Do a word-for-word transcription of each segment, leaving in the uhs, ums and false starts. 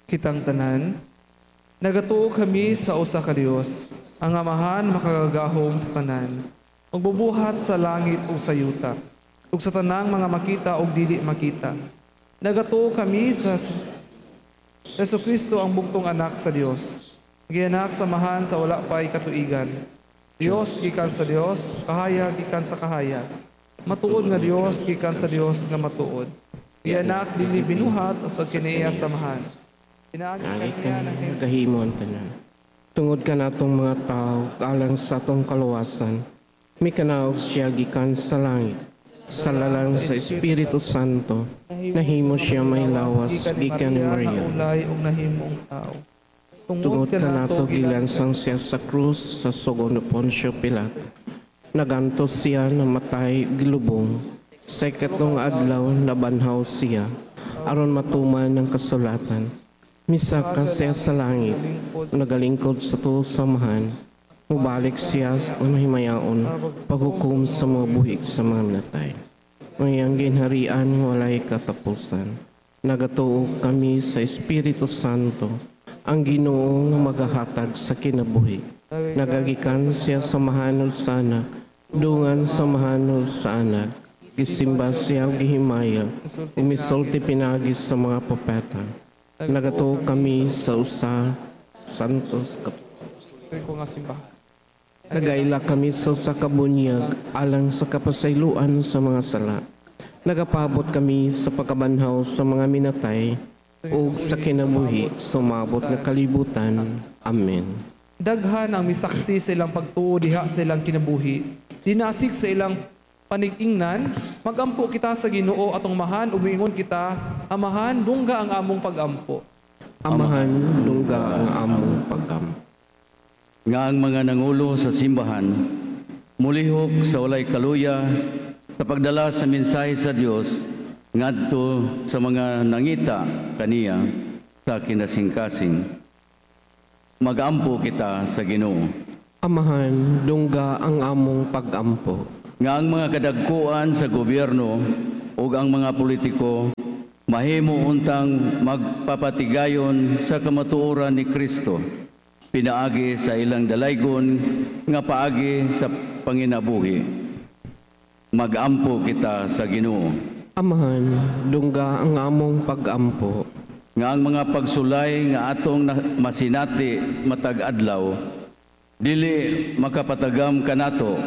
Kitang tanan, nagatuo kami sa usa ka Dios, ang Amahan makagagahom sa tanan, magbubuhat sa langit ug sa yuta, ug sa tanang mga makita ug dili makita. Nagatuo kami sa Hesus Kristo ang bugtong anak sa Dios. Gianak sa Amahan sa wala pa'y katuigan. Dios gikan sa Dios, kahayag gikan sa kahayag. Matuod nga Dios gikan sa Dios nga matuod. Gianak dili binuhat usag kinaiya sa Amahan. Pinaagi Naagi kaniya ka ng nagahimo ang tanan. Tungod kanatong mga tao, alang sa atong kaluwasan, mikanaog siya gikan sa langit. Sa lalang sa Espiritu Santo, nahimo siya may lawas gikan ni Maria. Naulay ug nahimong tao. Tungod kanato gilansang siya sa krus sa sugo ni Poncio Pilato. Nagantos siya namatay gilubong. Sa ikatlong adlaw nabanhaw siya aron matuman ang kasulatan. Misaka siya sa langit, nagalingkod sa tuo sa Amahan. Mubalik siya sa mahimayaon, paghukom sa mga buhi sa mga natay. Ang iyang ginharian walay katapusan. Nagatuo kami sa Espiritu Santo, ang Ginoo nga magahatag sa kinabuhi. Nagagikan siya sa Amahan ug sa Anak, dungan sa Amahan ug sa Anak. Gisimba siya ug gihimayag, umisulti pinaagi sa mga propeta. Nagatuo kami sa usa Santos ko nga simbahan. Nagaila kami sa usa ka bunyag alang sa kapasayloan sa mga sala. Nagapabot kami sa pagkabanhaw sa mga minatay ug sa kinabuhi sa umaabot nga kalibutan. Amen. Daghan ang misaksi sa ilang pagtuo diha sa ilang kinabuhi. Dinasik sa ilang panig-ingnan, magampo kita sa Ginoo atong Amahan ug miingon kita, Amahan, dungga ang among pagampo. Amahan, dungga ang among pagampo. Nga ang mga nangulo sa simbahan mulihok sa walay kaluya sa pagdala sa mensahe sa Dios ngadto sa mga nangita kaniya sa kinasingkasing. Magampo kita sa Ginoo. Amahan, dungga ang among pagampo. Nga ang mga kadagkuan sa gobyerno ug ang mga politiko mahimo untang magpapatigayon sa kamatuoran ni Kristo pinaagi sa ilang dalaygon nga paagi sa panginabuhi. Magampo kita sa Ginoo. Amahan, dungga ang among pagampo. Nga ang mga pagsulay nga atong na- masinati matag adlaw dili makapatagam kanato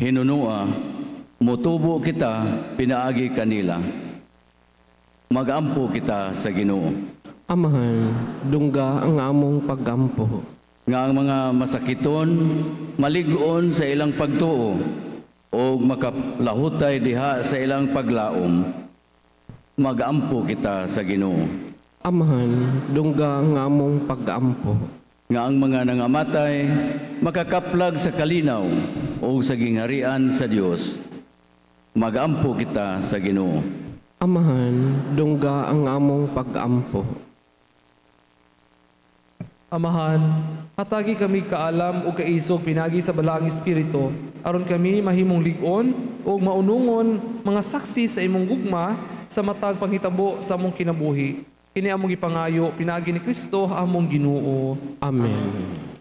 hinunua motubo kita pinaagi kanila. Magampo kita sa Ginoo. Amahan, dungga ang among pagampo. Nga ang mga masakiton malig-on sa ilang pagtuo o makalahutay diha sa ilang paglaom. Magampo kita sa Ginoo. Amahan, dungga ang among pagampo. Nga ang mga nangamatay makakaplag sa kalinaw o sa gingharian sa Dios. Magampo kita sa Ginoo. Amahan, dungga ang among pagampo. Amahan, hatagi kami kaalam ug kaisog pinaagi sa Balaang Espiritu aron kami mahimong lig-on ug maunungon mga saksi sa imong gugma sa matag panghitabo sa among kinabuhi. Kini among gipangayo pinaagi ni Kristo among Ginoo. Amen.